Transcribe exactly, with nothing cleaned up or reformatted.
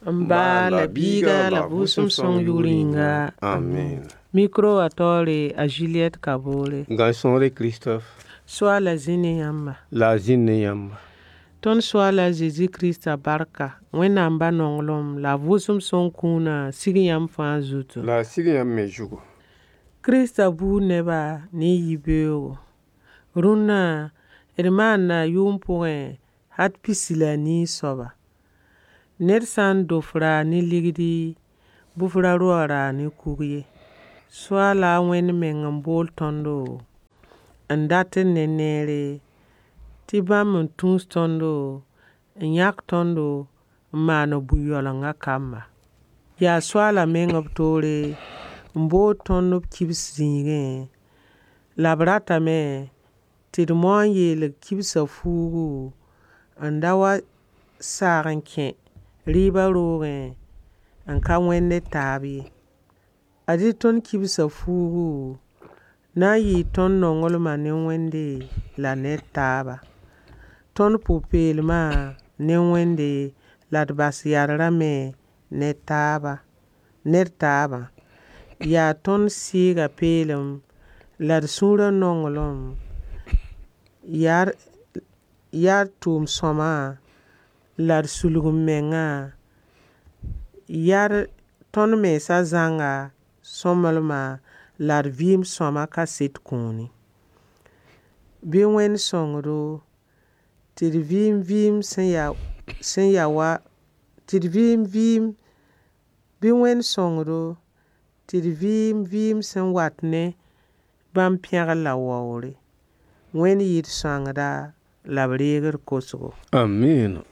N ba la biiga la vʋʋsem sõng yʋʋr yĩnga. Amen. Micro wã taoore a Juliette Kabore. Gãn-sõore Christophe. Soaala zĩ ne yãmba. La a zĩnd ne yãmba. Tõnd Soaala Zezi Krista barka, Wẽnnaam ba nonglem la a vʋʋsem sõng kũunã sig yãmb fãa zutu. La a sig yãmb me zugu. Krista buud neba ne yibeoogo. Rũnna d maanda yʋʋm pʋgẽ hat pisi la a nii soaba. Ned sã n do f raag ne ligdi, bɩ f ra ro a raag ne kug ye. Soaala a Wẽnd meng n bool tõndo n dat d ne neere tɩ bãmb n tũus tõndo n yãk tõndo n maan b bũ-yaoolengã kamba. Yaa Soaala meng b toore n bood tõnd b kibs zĩigẽ, la b ratame tɩ d mao n yeelg kibsã fuugu n da wa saag n kẽ rɩɩbã roogẽ n ka wẽnd d taab ye. Ad-y tõnd kibsã fuugu na n yɩɩ tõnd nonglmã ne Wẽnde la ned taaba. Tõnd pʋ-peelmã ne Wẽnde la d bas yadrã me ne taaba, ned taabã. Yaa tõnd sɩɩgã peelem la d sũurã nonglem, yaa yaa d tʋʋm-sõma la d sulg-m-mengã, yaa tõnd mensã zãnga sõmblema la d vɩɩm sõama kaset kũuni. Bɩ Wẽnd sõng-do tɩ d vɩɩm vɩɩm sẽn ya sẽn ya wa tɩ d vɩɩm vɩɩm bɩ Wẽnd sõng-do tɩ d vɩɩm vɩɩm sẽn wat ne bãmb pẽgr la waoogre. Wẽnd yɩ d sõangda la b reeg d kosgo. Amiina.